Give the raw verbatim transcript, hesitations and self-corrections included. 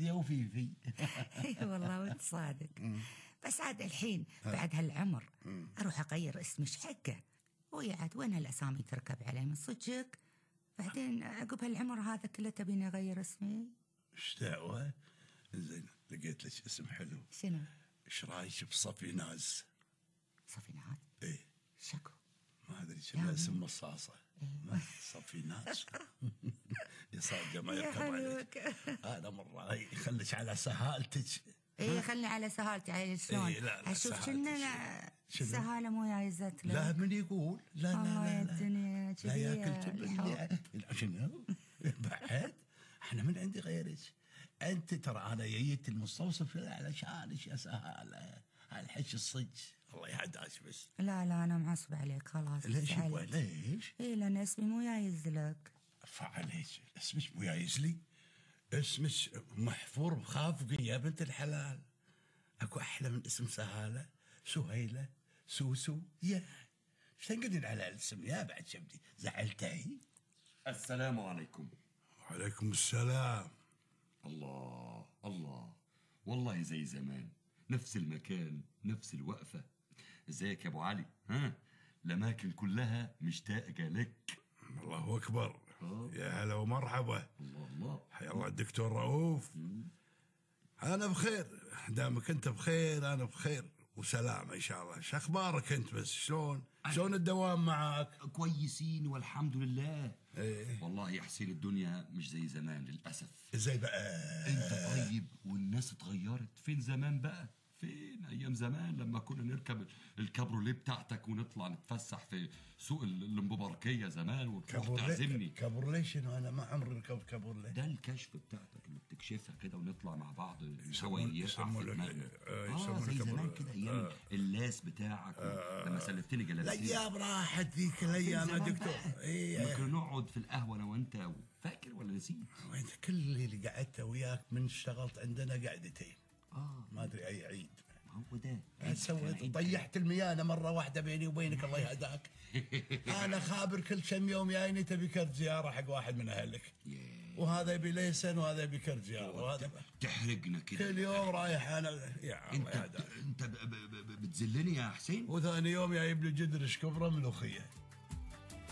يا وفيفي. اي والله وانت صادق. بس عاد الحين بعد هالعمر اروح اغير اسمي ايش حقه؟ ويا عاد وين هالاسامي تركب علي من صدقك؟ بعدين عقب هالعمر هذا كله تبيني اغير اسمي؟ ايش دعوه؟ زين لقيت لك اسم حلو. شنو؟ ايش رايك بصفيناز؟ صفيناز؟ ايه شكو؟ ما ادري شنو اسم مصاصه. إيه. صفيناز. يا صادقه ما يا يركب عليك. حبيبك. هذا مره يخليك على سهالتك. ايه خلني على سهالتي عيل شلون؟ إيه لا لا اشوف سهالتك. شنو سهاله مو جايزت له. لا من يقول لا لا الله يا لا لا, الدنيا لا ياكل كذي جبن. لا شنو؟ بعد احنا من عندي غيرك. انت ترى انا جيت المستوصف علشانك يا سهاله. هالحكي الصج الله يهداك بس. لا لا انا معصب عليك خلاص. ليش يبغى ليش؟ ايه لان اسمي مو جايز لك. فعليك اسمك مو جايز لي. اسمك محفور بخافقي يا بنت الحلال. اكو احلى من اسم سهاله؟ سهيله سوسو يا ايش تنقدين على الاسم يا بعد شبدي زعلتي. السلام عليكم. وعليكم السلام. الله الله والله زي زمان، نفس المكان نفس الوقفة. ازيك يا ابو علي؟ ها الاماكن كلها مشتاقة لك. الله اكبر. أوه. يا هلا ومرحبا. الله الله. حيا الله الدكتور رؤوف. انا بخير دامك انت بخير انا بخير وسلام ان شاء الله. شو اخبارك انت بس؟ شلون شلون الدوام معك؟ كويسين والحمد لله. ايه والله يا حسين الدنيا مش زي زمان للاسف. ازاي بقى؟ انت طيب والناس اتغيرت. فين زمان بقى؟ فين ايام زمان لما كنا نركب الكابروليه بتاعتك ونطلع نتفسح في سوق المباركيه زمان وتروح تعزمني. كابروليه شنو؟ انا ما عمري ركبت كابروليه. ده الكشف بتاعتك اللي بتكشفها كده ونطلع مع بعض سوية. يسمونه اه زي زمان كده ايام آه. اللاس بتاعك آه. لما سلفتني جلابيه. الايام راحت ذيك الايام يا دكتور. ايه كنا نقعد في القهوه انا وانت. فاكر ولا نسيت؟ وانت كل اللي قعدت وياك من اشتغلت عندنا قعدتين. اه ما ادري اي عيد. ما هو ده سويت طيحت الميانه مره واحده بيني وبينك الله يهداك. انا خابر كل كم يوم جايني تبي كرت زياره حق واحد من اهلك. وهذا يبي ليسن وهذا يبي كرت زياره وهذا تحرقنا كده كل يوم رايح انا. يا الله يهداك انت بتذلني يا حسين. وثاني يوم جايب لي جدرش كبره ملوخيه.